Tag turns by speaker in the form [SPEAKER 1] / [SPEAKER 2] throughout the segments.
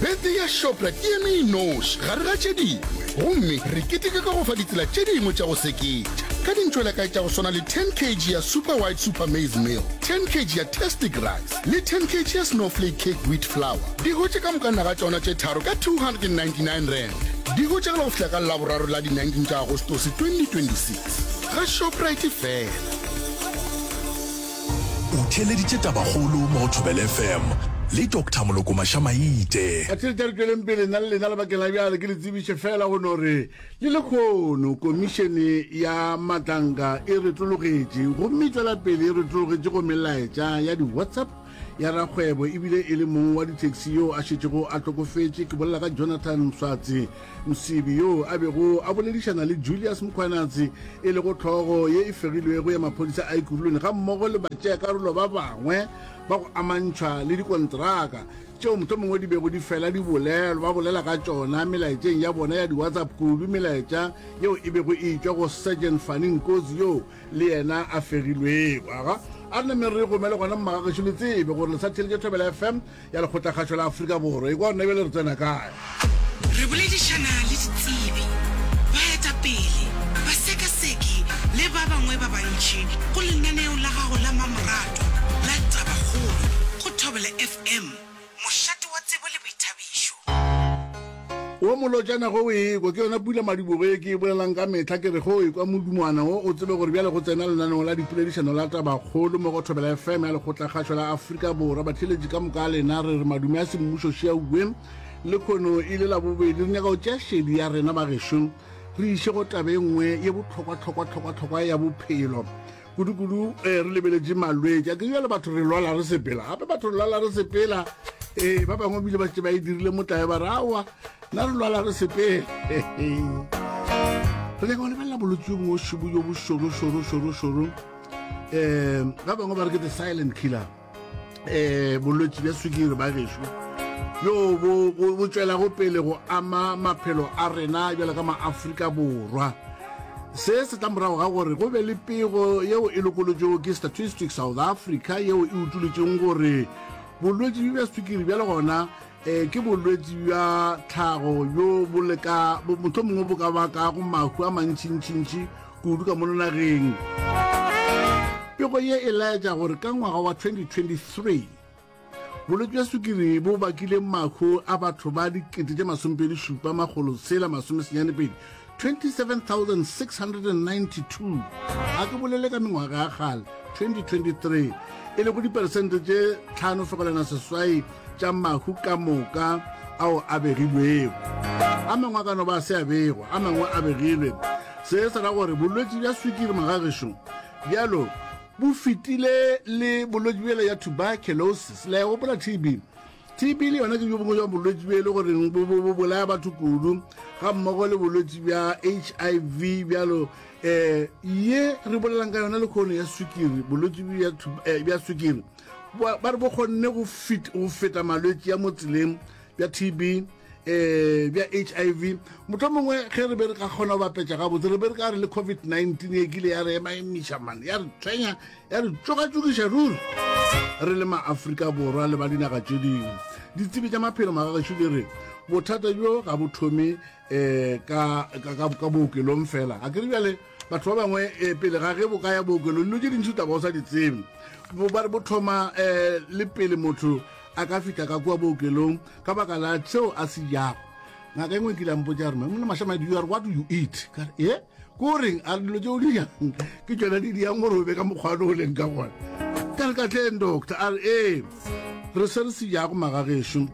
[SPEAKER 1] Birthday ya Shoprite e eme e noši gare ga tše dingwe, gomme re keteka ka go fa ditsela tše dingwe tša go seketša. Ka dintšwelakae tša go swana le 10 kg ya Super White Super Maize Meal, 10 kg ya Tastic Rice le 10 kg ya Snowflake Cake Wheat Flour, di hwetše ka moka naga tšona tše tharo ka R299. Di hwetšagala go fihla ka Laboraro la di 19 tša Agostose 2026 ga Shoprite fela.
[SPEAKER 2] O theeleditše Tabakgolo mo go Thobela FM le Doctor Moloko Mašamaite.
[SPEAKER 3] Batheeletša re tšweleng pele nna le lena lebakeng la bjale ke le tsebiše fela go no re le lekgono komišene ya matlanka e retologetše gomme e tšwela pele e retologetše go melaetša ya di-whatsapp ya rakgwebo ebile e le mong wa di-taxi yo a šetšego a hlokofetše ke bolela ka Jonathan Mswatsi Msibi yo a bego a boledišana le Julius Mkhwanazi e lego hlogo ye e fegilwego ya maphodisa a Ekurhuleni gammogo le batšeakarolo ba bangwe ba go amantšhwa le dikontraka tšeo mohlomongwe di bego di fela di bolelwa ba bolela ka tšona melaetšeng ya bona ya di-WhatsApp kudu melaetša yeo e bego e etšwa go Sergeant Fanny Nkosi yo le yena a fegilwego. Aga a re nameng re gomele gona mmagagešo le tsebe gore le sa theletše Thobela FM ya Lekgotlakgašo la Afrika Borwa. Ekwa gona bjale re tsena kae?
[SPEAKER 4] Re boledišana le ditsebi, baetapele, basekaseki le ba bangwe ba bantši go lenaneo la gago la mamoratwa la Tabakgolo go Thobela FM, mošate wa tsebo le boithabišo.
[SPEAKER 3] Wo molotšana ge o ekwa, ke yona pula madibogo ye ke e bolelang ka mehla, ke re ge o ekwa modumwana wo, o tsebe gore bjale go tsena lenaneo la dipoledišano la Tabakgolo mo go Thobela FM ya Lekgotlakgašo la Afrika Borwa. Batheeletši ka moka a lena, re re madume a semmušo šiauwe lekhono e le Labobedi. Re nyaka go tšea šedi ya rena bagešo re iše go taba e nngwe ye bohlokwa-hlokwa-hlokwa-hlokwa ya bophelo. Kudu-kudu eh, re lebeletše malwetši a ke bjale batho re lwala re sepela gape batho re lwala re sepela ee ba bangwe bile ba šetše ba e dirile motlae ba re aowa nna re lwala re sepela re nyaka go lebelela bolwetši jo bongwe šobo jo bo šoro šoro šoro šoro um ba bangwe ba re ke the silent killer um bolwetši bja swikiri ba gešo bjo bo tšwelago pele go ama maphelo a rena bjalo ka maafrika borwa se se tla morago ga gore go be le pego yeo e lokolotšego ke statistics south africa yeo e utolotšeng gore bolwetši bja swikiri bjale gona um ke bolwetši bja tlhago bjo bo leka mohlomongwe mongwe bo ka bakago mahu a mantšintšintši kudu ka mono nageng. Pego ye e laetša gore ka ngwaga wa 2023, bolwetši bja sukiri bo bakile mahu a batho ba dikete tše masomepedi šupa makgolo tshela masomesenyane pedi, 27,692. A ke bolele ka mengwaga ya kgale, 2023, e lego diperesente tše 5.8 tša mahu ka moka ao a begilwego. A mangwe a ka no ba a se a begwa, a mangwe a begilwe. Se se ra gore bolwetši bja swikiri magagešo bjalo bo fetile le bolwetši bjela ya tuberculosis. Le a e gopola TB? TB le yona ke bjo bongwe bja bolwetši bjo e le goreng bo, bo, bo bolaya batho kudu, ga mmogo le bolwetši bja HIV bjalo. Um ye re bolelang ka yona lekgono ya swikiri, bolwetši bja, eh, bja swikiri ba re bo kgonne go feta malwetši ya mo tseleng bja TB eh bja HIV motho mongwe ge re be re ka kgona go bapetša gabotse re be re ka re le COVID-19 e kile ya re ema emiša man ya re tshwenya ya re tšogatšokiša ruri re le maafrika borwa le ba dinaga tše dingwe ditsebi tša maphelo magagešo di re bothata bjo ga bo thome um ka, ka, ka, ka bookelong fela a ke re bjale Batho ba bangwe eh, pele ga ge bo ka ya bookelong dilo tše dintši taba o sa di tsebe. Bo ba re bo thoma eh, le pele motho a ka fihla ka kua bookelong ka baka la seo a se jago. Ngaka e nngwe e kile a mpotša re monna Mashamadi you are what you eat. Ka re e ko reng a re dilo tše o di jang ke tšona di diang gore o be ka mokgwa o leng ka gona. Ka re ka tleng doctor a re ee re se re se jago magagešo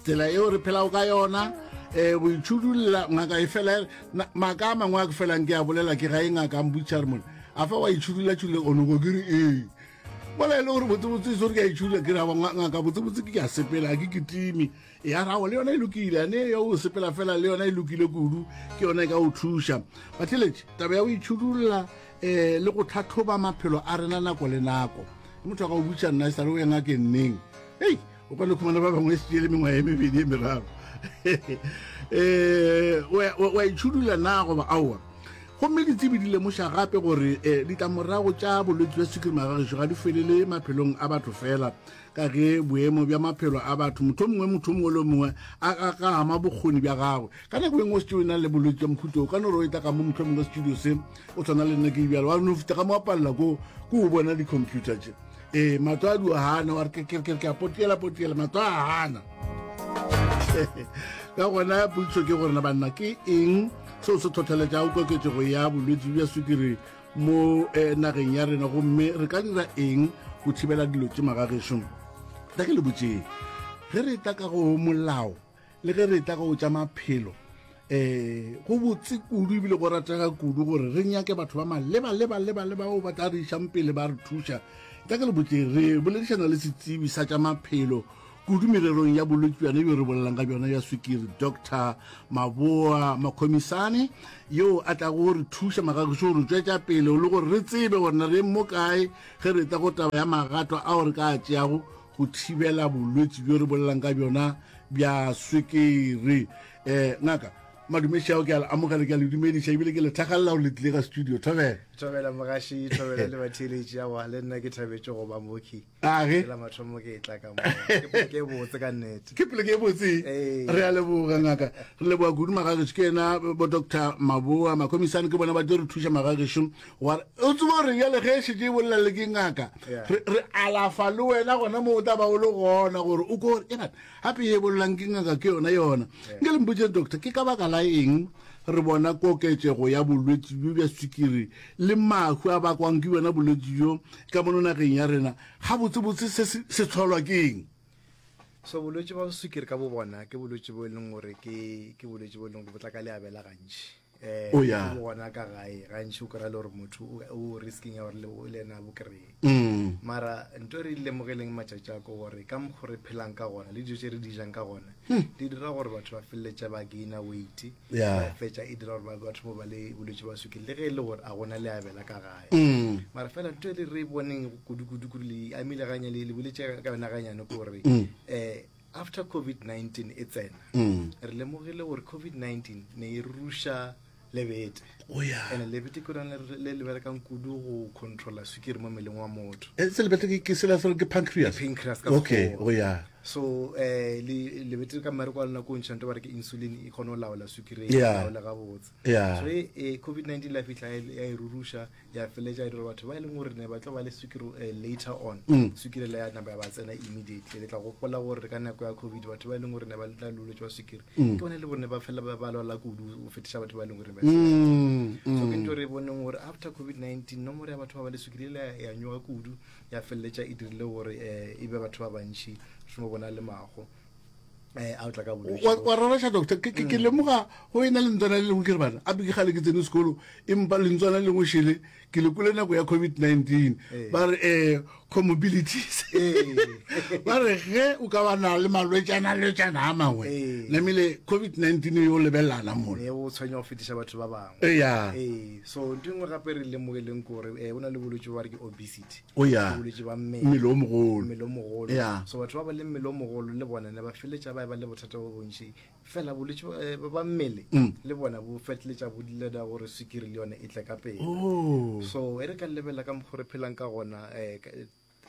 [SPEAKER 3] tsela eo re phelago ka yona um go itšhudulla ngaka e fela maaka a mangwe a ke felang ke a bolela ke ga e ngaka a mpotša re mone a fa wa itšhudulla tšhudulla onoko ke re ee mola e le gore botsebotse se gore ke a itšhudulla ke ra ngaka botsebotse ke ke a sepela ke kitime ya rago le yona e lokile ane ya o sepela fela le yona e lokile kudu ke yona e ka o thuša batheletše taba ya go itšhudulla um le go tlhatlhoba maphelo a rena nako le nako motho a ka o butša nna e sa le o ya ngakeng neng hei o ka no khumana ba bangwe e le mengwaga e mebedi e meraro um wa itšhudula na goba aowa? Gomme ditsebi di lemoša gape gore eh, ditlamorago tša bolwetši bja sukiri magagešo ga di felele maphelong a batho fela, ka ge boemo bja maphelo a batho motho mongwe motho mongwe le mongwe a a ka ama bokgoni bja gagwe. Ka nako e nngwe o šetše o na le bolwetši bja mohuta o ka no re o etla ka mo motho mongwe studio se o tshwana le nna ke bjalo wa no fita ka mo wa palela ko ko o bona di-computer tše ee matlo a dio gana wa re ke ke ke a potiela potiela matlo a gana ka gona potšišo ke gore na banna ke eng seo se tlhotlheletšago koketšego ya bolwetši bja sukiri mo eh, nageng ya rena gomme re ka dira eng go thibela dilo tše magagešo tla ke le botšeng ge re tla ka go molao le ge re tla go tša maphelo um go botse kudu ebile go ratega kudu gore re nyake batho ba maleba leba leba leba bao ba tla re išang pele ba re thuša tla ke le botse re boledišana le setsebi sa tša maphelo kudu mererong ya bolwetši bjona bjo re bolelang ka bjona ya swikiri dr maboa makhomisane yo a tlago go re thuša magagišo gore tšwetša pele le gore re tsebe gore na re mo kae ge re tla go taba ya magato ao re ka a tšeago go thibela bolwetši bjo re bolelang ka bjona bja swikiri um ngaka madumeši ao ke a le amogela ke a le dumediša ebile ke le thakgalela gore le tlile ka studio thobela
[SPEAKER 5] thobela mogaši thobela le batheeletši awa le nna ke thabetše go ba moki
[SPEAKER 3] age
[SPEAKER 5] la mathomo ke e tla ka mo ke poleke e botse ka nnete
[SPEAKER 3] ke poleke e botse re a leboga ngaka re leboga kudu magagešo ke yena bo doctor maboa makhomisane ke bona ba tlo re thuša magagešo Wa o tseba gore bjale ge e šetše e bolela le ke ngaka, re, re alafa le wena gona mo o tla ba o le gona gore o ko gore e bana gape ye e bolelang ke ngaka ke yona yona. Nke le mpotšeng doctor, ke ka baka la eng re bona koketšego ya bolwetši bjo bja swikiri le mahu a bakwang ke bjona bolwetši bjo ka mono nageng ya rena? Gabotsebotse se se se hlolwa ke eng?
[SPEAKER 5] So bolwetši bja swikiri ka bo bona ke bolwetši bo e leng gore ke ke bolwetši bo e leng gore bo tla ka leabela gantši. Eh,
[SPEAKER 3] oh, yeah.
[SPEAKER 5] bo gona ka gae gantši o kry-a le gore motho o risking ya gore le ena a bo kry-e
[SPEAKER 3] mm.
[SPEAKER 5] mara nto e re lemogeleng matšatši a ko gore ka mokgo re phelang ka gona le dijo tše re di jang ka gona hmm. di dira gore batho ba feleletša ba gaina weight
[SPEAKER 3] ba
[SPEAKER 5] fetša e dira gore batho mo ba le bolwetse ba sukiri le ge e le gore a gona le abela ka gae mm. mara fela nto e le re boneng kudu-kudu-kudu le amile ganya le boletse ka yona ganyane ke gore um After COVID-19 e tsena, mm. re lemogile gore COVID-19 ne e ruša lebete.
[SPEAKER 3] Oh, yeah.
[SPEAKER 5] And lebete ke lone le le berekang kudu go controla sukiri mo mmeleng wa motho.
[SPEAKER 3] Eh, se lebete ke sela se ke pancreas.
[SPEAKER 5] Pancreas ka
[SPEAKER 3] Okay, oh yeah.
[SPEAKER 5] So eh le lebete ka mmereko wa lona ko ntšha nto ba re ke insulin e kgone go laola sukiri e laola gabotse.
[SPEAKER 3] Yeah.
[SPEAKER 5] So e eh, COVID-19 la fihla ya e ruruša ya feletša e dira batho ba e leng gore ne ba tlo ba le sukiri eh, later on mm. sukiri le ya napa ya ba tsena immediately le tla gopola gore ka nako ya covid batho ba e leng gore ne ba tla lolwetse wa sukiri mm. ke bone le gore ne ba fela ba lwala kudu go fetiša batho ba e leng gore ba
[SPEAKER 3] mm,
[SPEAKER 5] so ke ntho re boneng gore after covid-19 nomoro ya batho ba ba le sukiri le ya nyoga kudu ya feleletša e dirile gore eh, e be batho ba bantšhi re bona le mago eh, a o tla ka bolwetši
[SPEAKER 3] wa wa raraša doctor ke ke- ke lemoga go e na lentswana le lengwe ke re bana ape ke gale ke tsene sekolo empa lentswana le lengwe šele ke le kwele nako ya covid-19
[SPEAKER 5] Ee.
[SPEAKER 3] ba re um comorbilities
[SPEAKER 5] Ee.
[SPEAKER 3] ba re ge o ka ba na le malwetšana lwetšana a mangwe
[SPEAKER 5] Ee.
[SPEAKER 3] namile covid-19 yo lebelelana mola
[SPEAKER 5] ne o tshwenya go fetiša batho ba bangwe
[SPEAKER 3] eya
[SPEAKER 5] ee so ntho e nngwe gape re lemogileng ke gore um o na le bolwetse ba re ke obesity
[SPEAKER 3] O ya.
[SPEAKER 5] Ke bolwetši ba mmele.
[SPEAKER 3] Mmele o mogolo.
[SPEAKER 5] Mmele o mogolo.
[SPEAKER 3] Ya.
[SPEAKER 5] So batho ba ba le mmele o mogolo le bona ne ba feletša ba e ba le bothata bo bontši. Fela bolwetši ba, eh, ba mmele
[SPEAKER 3] Mm.
[SPEAKER 5] le bona bo fetletša bo leda gore swikiri le yone e tle ka pele.
[SPEAKER 3] Oh.
[SPEAKER 5] So e re ka lebelela ka mokgwa re phelang ka gona eh, ka-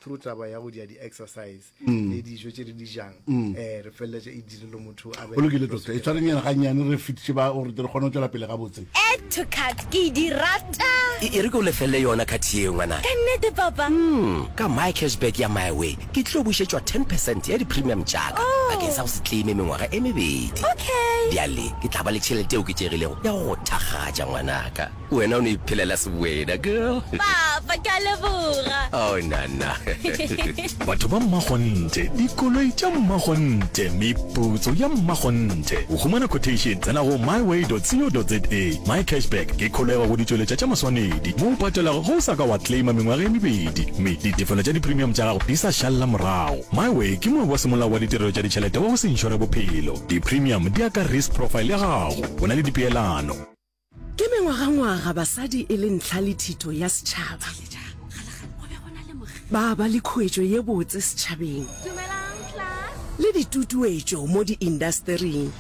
[SPEAKER 5] through taba ya go dia di-exercise
[SPEAKER 3] Mm.
[SPEAKER 5] le dijo tše re di jang eh, re feleletša e dirile motho a be
[SPEAKER 3] Go lokile doctor, e tshwarenyana gannyane re fetiše ba gore re kgone go tšwela pele gabotse.
[SPEAKER 6] Add to cart ke di rata.
[SPEAKER 7] E, e re ke o lefelle yona card yeo, ngwanaka.
[SPEAKER 6] Ka nnete, Papa?
[SPEAKER 7] Mm, ka My Cashback ya MiWay, ke tlo bušetšwa ten percent ya di-premium tša ka
[SPEAKER 6] Oh.
[SPEAKER 7] bakeng sa go se claime mengwaga e mebedi.
[SPEAKER 6] Okay.
[SPEAKER 7] Bjale ke tla ba le tšhelete e oketšegilego ya go go thakgatša, ngwanaka. Wena o no iphelela sewena, girl.
[SPEAKER 6] Papa, ke a leboga.
[SPEAKER 7] Oh, nana.
[SPEAKER 2] Batho ba mmakgonthe, dikoloi tša mmakgonthe, meputso ya mmakgonthe. Go humana quotation, tsena go myway.co.za. MyCashback ke kholego go ditšweletša tša maswanedi mo o patelago ge o sa ka wa claima mengwaga e mebedi mme ditefelo tša di-premium tša gago di sa šalela morago. MyWay ke moabi wa semolao wa ditirelo tša ditšhelete wa go se inšore bophelo. Di-premium di ya ka risk profile ya gago. Go na le dipeelano.
[SPEAKER 8] Ke mengwagangwaga basadi e le ntlha le thito ya setšhaba. Ba ba le khuetšo ye botse setšhabeng le ditutuetšo mo diindastering.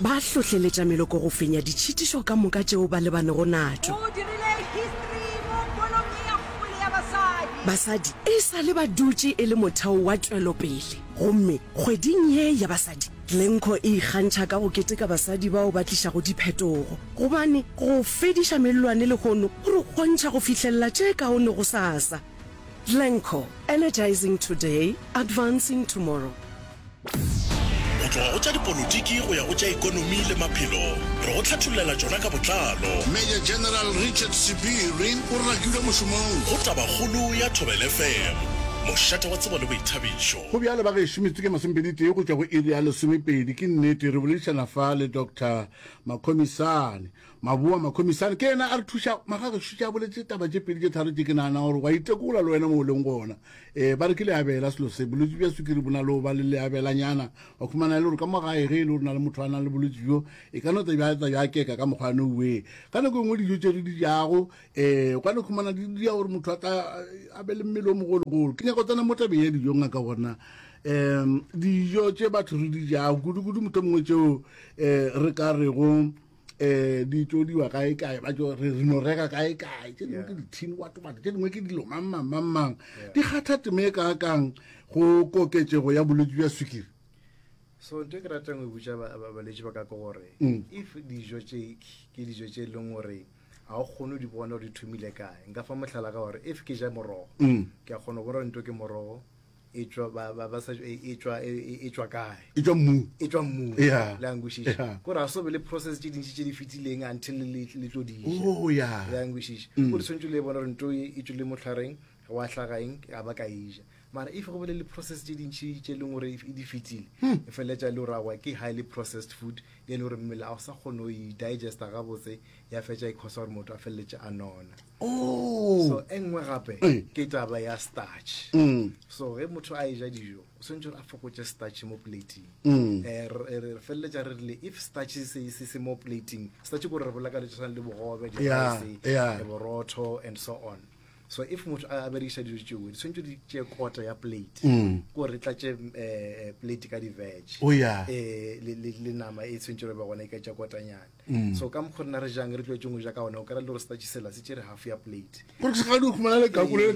[SPEAKER 8] Ba hlohleletša meloko go fenya ditšhitišo ka moka tšeo ba lebanego natšo.
[SPEAKER 9] O dirile history mo bolong ye ya kgwele ya basadi.
[SPEAKER 8] Basadi e sa le ba dutše e le motheo wa tšwelopele, gomme kgweding ye ya basadi, Glencore e ikgantšha ka go keteka basadi bao ba tlišago diphetogo, gobane go fediša mellwane lehono go re kgontšha go fihlelela tše kaone gosasa. Glencore, energizing today, advancing tomorrow.
[SPEAKER 10] Go tloga go tša dipolotiki go ya go tša ekonomi le maphelo, re go hlathollela tšona ka botlalo.
[SPEAKER 3] Major General Richard Sebiri o rakilwe mošomong.
[SPEAKER 10] Go Tabakgolo ya Thobela FM, mošate wa tsebo le boithabišo.
[SPEAKER 3] Go bjalo bagešo, metsotso ke masomepeditee go tšwa go iri ya lesomepedi. Ke nnete, re boledišana fa le Doctor Makhomisane. Maboa Makhomisane ke yena a re thuša. Magagešo tše a boletše taba tše pedi tše tharo tše ke nagana gore wa itekola le wena mo o leng gona. Ee, ba re ke leabela selo se. Bolwetši bja sukiri bo na le go ba le leabelanyana. Wa khumana e le gore ka mo gae ge e le gore na le motho a nang le bolwetši bjo, e ka no tla bja tla bja keka ka mokgwa no we. Ka nako e nngwe dijo tše re di jago, um o ka no khumana di dia gore motho a tla a be le mmele o mogologolo. Ke nyaka go tsena mo tabeng ya dijo ngaka gona. Um dijo tše batho re di jago, kudu-kudu motho mongwe tšeo um re ka rego um di tšodiwa kae kae ba tšo re no reka kae kae tše dingwe ke dithini wa tomate tše dingwe ke dilo mang mang mang mang di kgatha teme e kaakang go koketšego ya bolwetši bja swikiri
[SPEAKER 5] so nto e ke ratang go botša balwetši ba ka ke gore mm. if dijo tše ke dijo tše e leng gore ga o kgone di bona gore di thomile kae nka fa mohlala ka gore if ke ja morogo mm. ke a kgona go bona gore nto ke morogo e tšwa ba ba ba sa e e tšwa e e- e tšwa kae
[SPEAKER 3] e tšwa mmung
[SPEAKER 5] e tšwa mmung
[SPEAKER 3] Yeah.
[SPEAKER 5] le a nkwešiša
[SPEAKER 3] Yeah.
[SPEAKER 5] kore ga so be le process tše dintši tše di fetileng until le le tlo di ja
[SPEAKER 3] oh ya
[SPEAKER 5] le a nkwešiša o di tshwanetse le bona gore nto e e tšwele motlhareng wa hlaga eng a ba ka e ja mara if go bele le process tše dintši tše e leng gore e di fetile e feleletša e le gore aowa ke highly processed food e le gore mmele a o sa kgone go e digesta gabotse ya fetša e causa gore motho a feleletše a nona
[SPEAKER 3] oh
[SPEAKER 5] so e nngwe gape
[SPEAKER 3] Ee.
[SPEAKER 5] ke taba ya starch
[SPEAKER 3] Mm.
[SPEAKER 5] so ge motho a eja dijo o tshwanetse gore a fokotše starch mo plating
[SPEAKER 3] Mm.
[SPEAKER 5] Eh, re re feleletša re rile if starch se se se mo plating starch ke gore re bolaka le tshwana le bogobe
[SPEAKER 3] Yeah,
[SPEAKER 5] di-rice
[SPEAKER 3] yeah.
[SPEAKER 5] eh, borotho and so on so if motho a a berekiša dijo tšeo di tshwanetse di tšee kota ya plate
[SPEAKER 3] Mm.
[SPEAKER 5] ke gore re tlatše eh, plate ka di-veg
[SPEAKER 3] Oh, yeah.
[SPEAKER 5] Eh, le le- le nama e tshwanetse gore be gona e ka tša kotanyana
[SPEAKER 3] Mm.
[SPEAKER 5] so ka mokgwa rena re jang re tlwaetseng go ja ka gona o kry-a le gore starch sela se tšere half ya plate
[SPEAKER 3] gore se gadi o khumana lekaku le
[SPEAKER 5] Ee,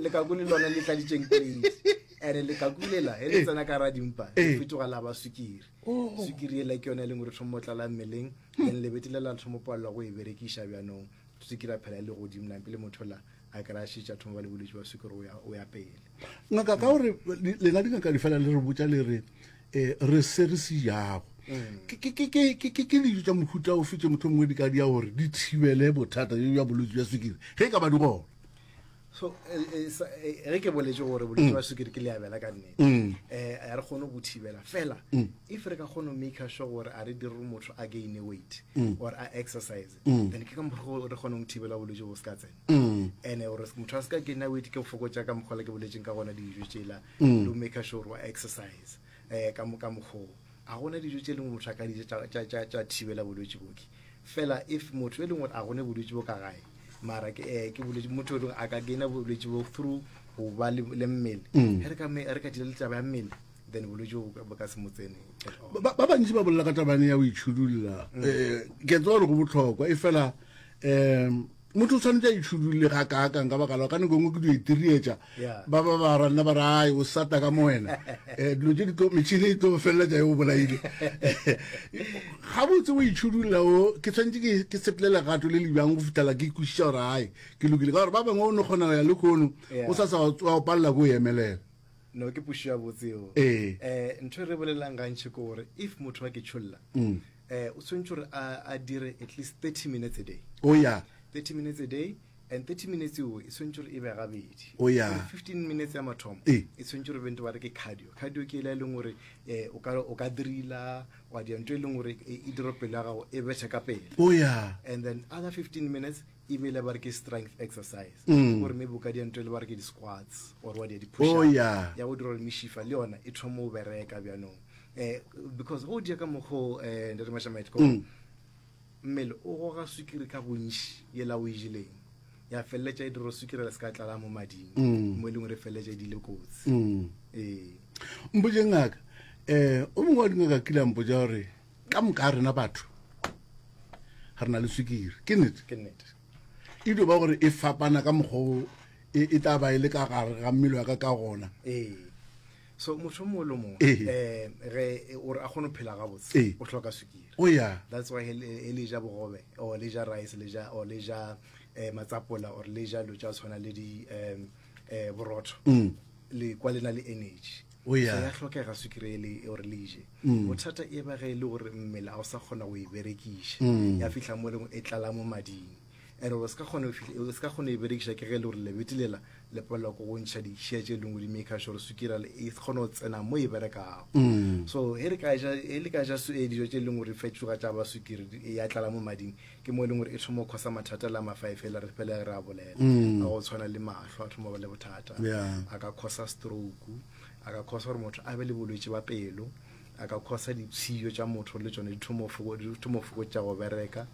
[SPEAKER 5] lekaku le lona le tladitseng plate and lekaku lela e le tsena ka ra dimpa le fetoga la ba sukiri
[SPEAKER 3] Oh.
[SPEAKER 5] sukiri ela ke yone e leng gore thomo tlala mmeleng then lebete le la thomo palelwa go e berekiša bjanong sukiri a phela e le godimo nampe le motho la a kry-a šetše a thoma ba le bolwetse ba sukiri o ya pele
[SPEAKER 3] ngaka ka gore lena dingaka di fela le re botša le re um re se re se jago mm. ke dijo tša mohuta ofe tše motho mongwe di ka dia gore di thibele bothata jo bja bolwetse bja sukiri ge e ka ba di gona
[SPEAKER 5] so eh, eh, eh, ge ke boletse gore bolwetse bja sukiri ke leabela ka nnete um a re kgone go thibela fela if re ka kgone go make sure gore a re dire motho a gaine weight or a exercise then ke ka mokgwa re kgone go thibela bolwetse bo se ka tsena and gore motho a se ka gaina weight ke go fokotša ka mokgwa le ke boletseng ka gona dijo tsela le go make sure gore wa exercise um ka ka mokgoo a gona dijo tše lengwe motho a ka dija tša thibela bolwetši boke fela if motho e leng gore a gone bolwetši bo ka gae mara ke eh, ke bolwetši motho e leng a ka gaina bolwetši bo through go ba le mmele mm. re ka re ka dira le taba ya mmele then bolwetši bo ka se mo tsene
[SPEAKER 3] ba bantši ba bolela ka tabane ya go itšhudulla um ke tseba gore go botlhokwa e fela um motho o tshwanetse a itšhudulle ga kaakang ka baka la ka nako e nngwe ke dio itirietša ba ba ba ranna ba re ai o sata ka mo wena um dilo tse di tlo metšhini e tlo feleletša e o bolaile gabotse o itšhudulla o ke tshwanetse ke sepele legato le le bjang go fitlhela ke kwešiša gore ai ke lokile ka gore ba bangwe o no kgona go ya le kgono o sa sa wa o palela ko o emelela
[SPEAKER 5] no ke pušo ya botseo
[SPEAKER 3] ee
[SPEAKER 5] um ntho e re bolelang gantšhi ke gore if motho wa ke tšholla um o tshwanetse gore a dire at least 30 minutes a day
[SPEAKER 3] o oh, ya
[SPEAKER 5] 30 minutes a day and 30 minutes eo e tshwanetse gore e be gabedi
[SPEAKER 3] oh, ya
[SPEAKER 5] 15 minutes ya mathomo e tshwanetse gore bente ba re ke cardio cardio ke ela e leng gore um o ka drila wa dia ntho e leng gore e, e dira pelo ya gago e bethe ka pele
[SPEAKER 3] oh, ya
[SPEAKER 5] and then other 15 minutes e be le ba re ke strength exercise mm. gore maybe o ka dia ntho e le ba re ke di-squats or wa dia di-push
[SPEAKER 3] oh, yeah.
[SPEAKER 5] ya go dira gore mešifa le yona e thoma o bereka bjanong eh, because go dia ka mokgo eh, ntate Mashamaite ko mm. mmele o goga sukiri ka bontši yela o e jeleng ya feleletša e dira sukiri le se ka tlala mo mading mm. mo e leng gore e feleletša e dile kotsi
[SPEAKER 3] mm.
[SPEAKER 5] ee
[SPEAKER 3] mpotše ngaka um o mongwe wa dingaka kile a mpotša gore Ka moka ga rena batho re na le swikiri. Ke nnete?
[SPEAKER 5] Ke nnete.
[SPEAKER 3] E dio ba gore e fapana ka mokgwa o e, e tla ba e le ka gare ga mmele wa ka ka gona.
[SPEAKER 5] Ee. So motho o mongwe le o mongwe
[SPEAKER 3] Ee.
[SPEAKER 5] um ge ore a kgone go phela gabotse
[SPEAKER 3] Ee.
[SPEAKER 5] o hloka sukiri.
[SPEAKER 3] O ya.
[SPEAKER 5] That's why he le ja bogobe or le ja rice le ja or le ja eh, matsapola or le ja dilo tša go tshwana le di um eh, borotho
[SPEAKER 3] Mm.
[SPEAKER 5] le kwa le na le energy.
[SPEAKER 3] O ya.
[SPEAKER 5] So ya hlokega sukiri e le gore le je.
[SPEAKER 3] Mm.
[SPEAKER 5] Bothata e ba ge e le gore mmele a o sa kgona go e berekiša.
[SPEAKER 3] Mm.
[SPEAKER 5] Ya fihla mo e leng e tlala mo mading. And gore o se ka kgona go fihla- o se ka kgona go e berekiša ke ge e le gore lebete lela le palelwa ke go ntšha ditšhia tše lengwe di maker sure sukiri e kgone go tsena mo e berekago.
[SPEAKER 3] Mm.
[SPEAKER 5] So he re ka ja he le ka ja su- eh, dijo tše leng gore fetšoga tša ba sukiri di- ya tlala mo mading ke mo e leng gore e thoma go khosa mathata la mafaefela re fele re a bolela.
[SPEAKER 3] Mm.
[SPEAKER 5] A go tshwana le mahlo a thoma go ba le bothata.
[SPEAKER 3] Yeah.
[SPEAKER 5] A ka khosa stroke, a ka khosa gore motho a be le bolwetši ba pelo, a ka khosa dipshio tša motho le tšone di thoma go foko- di thoma go fokotša go bereka.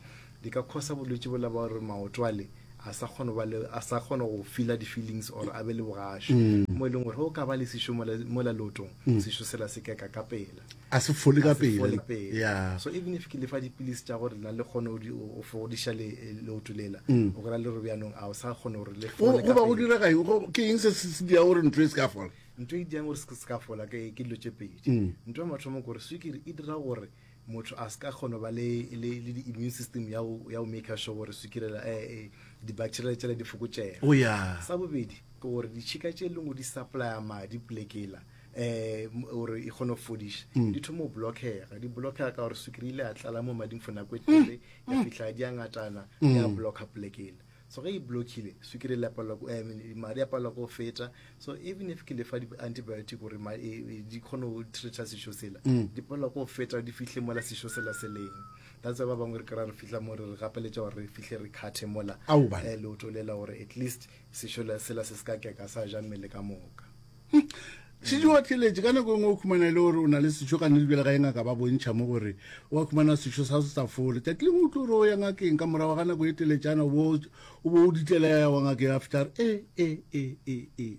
[SPEAKER 5] Di ka khosa bolwetši bola ba gore maoto ale a sa kgone go ba le, a sa kgona go feela di-feelings or a be le bogašo.
[SPEAKER 3] Mm.
[SPEAKER 5] Mo e leng gore ge o ka ba le sešo mola, mola leotong,
[SPEAKER 3] Mm.
[SPEAKER 5] sešo sela se keka ka pela.
[SPEAKER 3] A se fole ka
[SPEAKER 5] A se fole
[SPEAKER 3] pele.
[SPEAKER 5] pele.
[SPEAKER 3] Yeah.
[SPEAKER 5] So even if ke le fa dipilisi tša gore lena le kgone go di- go fodiša le, leoto lela,
[SPEAKER 3] Mm.
[SPEAKER 5] o kry-a le gore bjanong a o sa kgona gore le
[SPEAKER 3] Go
[SPEAKER 5] fole
[SPEAKER 3] go
[SPEAKER 5] ka
[SPEAKER 3] ba go
[SPEAKER 5] pele.
[SPEAKER 3] direga eng? Go- Ke eng se se se dira gore ntho e se ka fola?
[SPEAKER 5] Ntho e dirang gore se se ka fola ke ke dilo tše pedi.
[SPEAKER 3] Mm.
[SPEAKER 5] Ntho ya mathomo ke gore swikiri e dira gore motho a se ka kgona go ba le, le, le di-immune system ya go, ya go maker sure gore swikiri la, eh, eh, di-bacteria tšela di fokotšega.
[SPEAKER 3] Oh, yeah.
[SPEAKER 5] Sa bobedi ke gore ditšhika tše leng gore di supplya madi polekela um gore e kgone go fodiša
[SPEAKER 3] Mm.
[SPEAKER 5] di thoma go blockega, di blockega ka gore swikiri ile ya tlala mo mading for nako e telele, ya fihla di a ngatana, ya
[SPEAKER 3] Mm.
[SPEAKER 5] blocka polekela. So ge e blockile swikiri e la palelwa ko- eh, madi a palelwa ke go feta. So even if ke le fa di-antibiotic gore ma-, e, e, di kgone go treata sešo sela,
[SPEAKER 3] Mm.
[SPEAKER 5] di palelwa ke go feta di fihle mola sešo sela se leng. That's why ba bangwe re kry-a re fihla mo re re gapeletša gore re fihle re cut-e mola,
[SPEAKER 3] Ao, bana.
[SPEAKER 5] eh, leoto lela gore at least sešo la-, sela se se ka keka sa ja mmele ka moka.
[SPEAKER 3] Šetše wa theeletše, ka nako e nngwe o khumana e le gore o na le sešo ka nnete bjale ga e ngaka ba bontšha mo gore wa khumana sešo sa se sa fole. Tšatši lengwe o tlo re o ya ngakeng ka morago ga nako e teletšana o bo o bo o ditlela ya wa ngakeng a fihla a re e e e e e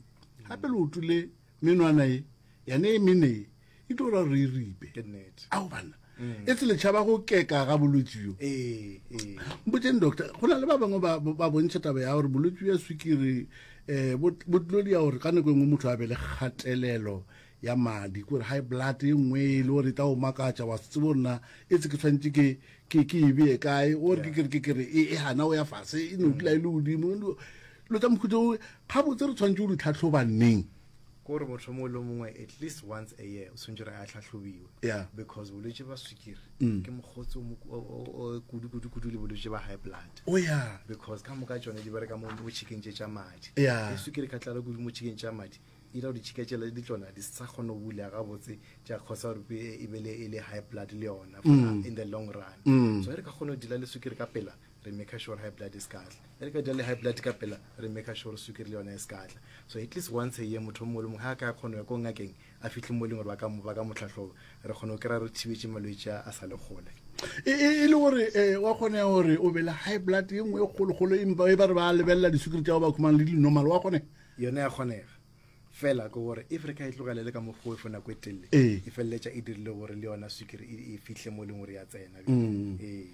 [SPEAKER 3] gape leoto le menwana e yane e mene e e tlo ra re e ripe.
[SPEAKER 5] Ke nnete.
[SPEAKER 3] Ao banna. E se le tšhaba go keka ga bolwetši bjo.
[SPEAKER 5] Ee, ee.
[SPEAKER 3] Mpotseng doctor, go na le ba bangwe ba ba bontšha taba ya gore bolwetši bja swikiri eh bo bo tlo dia gore ka nako e nngwe motho a be le kgatelelo ya madi, ke gore high blood e nngwe e le gore e tla o makatša wa se tsebe gore na e tse ke tshwanetse ke ke ke e bee kae, o re ke ke ke ke re e e gana o ya fase e no dula e le godimo. Dilo tša mohuta o gabotse re tshwanetse go di tlhahloba neng?
[SPEAKER 5] Ke gore motho mongwe le mongwe at least once a year o tshwanetse gore a tlhahlobiwe.
[SPEAKER 3] Yeah.
[SPEAKER 5] Because bolwetši ba swikiri
[SPEAKER 3] Mm.
[SPEAKER 5] ke mokgotsi o mo-, o, o, o kudu, kudu, kudu le bolwetši ba high blood.
[SPEAKER 3] Oh, yeah.
[SPEAKER 5] Because ka moka tšone di bereka mo, mo tšhikeng tše tša madi.
[SPEAKER 3] Yeah.
[SPEAKER 5] Ge swikiri ka tlala kudu mo tšhikeng tša madi, e dira gore ditšhika tšela di tšona di sa kgone go bula gabotse, tša causa gore e, e be le, e le high blood le yona for
[SPEAKER 3] Mm.
[SPEAKER 5] in the long run.
[SPEAKER 3] Mm.
[SPEAKER 5] So ge re ka kgona go deala le swikiri ka pela, re make sure high blood e se ka tla. Ge re ka deala le high blood ka pela, re make sure swikiri le yona e se ka tla. So at least once a year motho o mongwe le mongwe ga a ka kgona go ya ko ngakeng a fihle mo e leng gore ba ka mo, ba ka mo tlhahloba, re kgona go kry-a re thibetše malwetši a a sa le kgole.
[SPEAKER 3] E, e, e le gore eh, wa kgonega gore o be le high blood e nngwe e kgolokgolo empa e ba re ba lebelela diswikiri tša go ba khumana le di-normal, wa kgonega?
[SPEAKER 5] Yona ya kgonega. Fela ke gore if re ka e tlogela le ka mokgwa o for nako e telele,
[SPEAKER 3] Ee.
[SPEAKER 5] e feleletša e dirile gore le yona swikiri e, e fihle mo e leng gore ya tsena.
[SPEAKER 3] Mm.
[SPEAKER 5] Ee.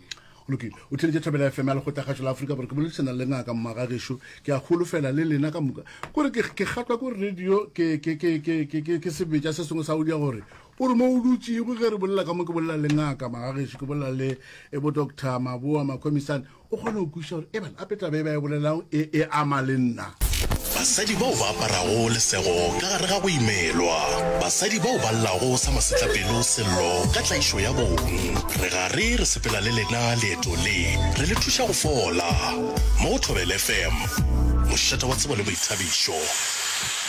[SPEAKER 3] Go lokile. O theeletše Thobela FM ya Lekgotlakgašo la Afrika Borwa. Ke boledišana le ngaka Mmagagešo. Ke a holofela le lena ka moka. Kore ke, ke kgatlwa ke gore radio ke, ke, ke, ke, ke, ke, ke sebetša se sengwe sa go dia gore o re mo o dutšego ge re bolela ka mo ke bolela le ngaka Magagešo, ke bolela le e bo Doctor Maboa Makhomisane, o kgone go kwešiša gore ebana ape taba e ba e bolelago e, e ama le nna.
[SPEAKER 10] Basadi bao ba aparago lesego ka gare ga go imelwa. Basadi bao ba llago sa masetlapelo sello ka tlaišo ya bong. Re gare re sepela le lena leeto le, re le thuša go fola. Mo go Thobela FM, mošate wa tsebo le boithabišo.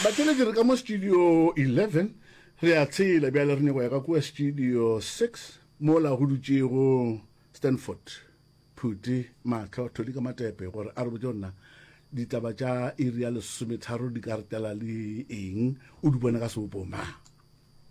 [SPEAKER 3] Batheeletši, re ka mo studio 11, re a tshela bjale re nyaka go ya ka kua studio 6 mola go dutšego Stanford. Phuti, Mahlo, Tholi ka Matepe gore a re botše gore na ditaba tša iri ya lesometharo di ka re tlela le eng, o di bone ka sebopo mang.